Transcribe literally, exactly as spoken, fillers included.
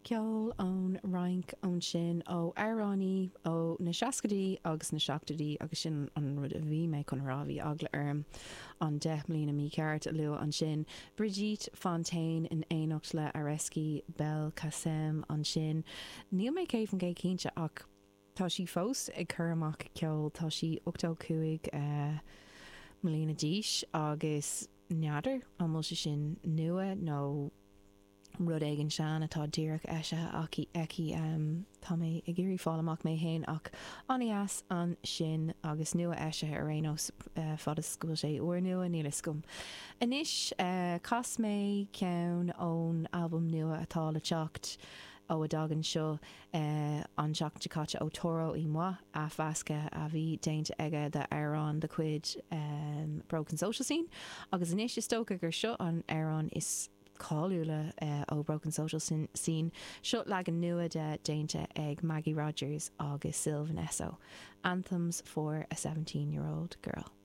Ceol ón Fhrainc ansin ó amhránaí ó na seascaidí agus na seachtóidí agus sin an rud a bhí mé chun rá bhí eagla orm an deich mbliana mícheart a lua ansin. Brigitte Fontaine in éineacht le Areski Belkacem ansin. Níl mé céad faoin gcéad cinnte ach tá sí fós ag cur amach ceol tá sí ochtó cúig eh, mbliana d'aois agus n'fheadar an bhfuil sé sin nua nó rud éigin sean atá díreach eisithe aici aici um, tá mé ag iarraidh fáil amach mé féin ach an-deas ansin agus nua eisithe ar aon nós uh, fad is go bhfuil sé úrnua níl a fhios agam. Anois uh, chas mé ceann ón albam nua atá le teacht ó a dtagann seo uh, an tseachtain seo caite ó Toro y Moi athmheascadh a bhí déanta aige d'amhrán de chuid um, Broken Social Scene agus anois is dócha gur seo an amhrán is cáiliúla uh, ó Broken Social Scene seo leagan nua de déanta ag Maggie Rogers agus Sylvan Esso. Anthems for a seventeen year old girl.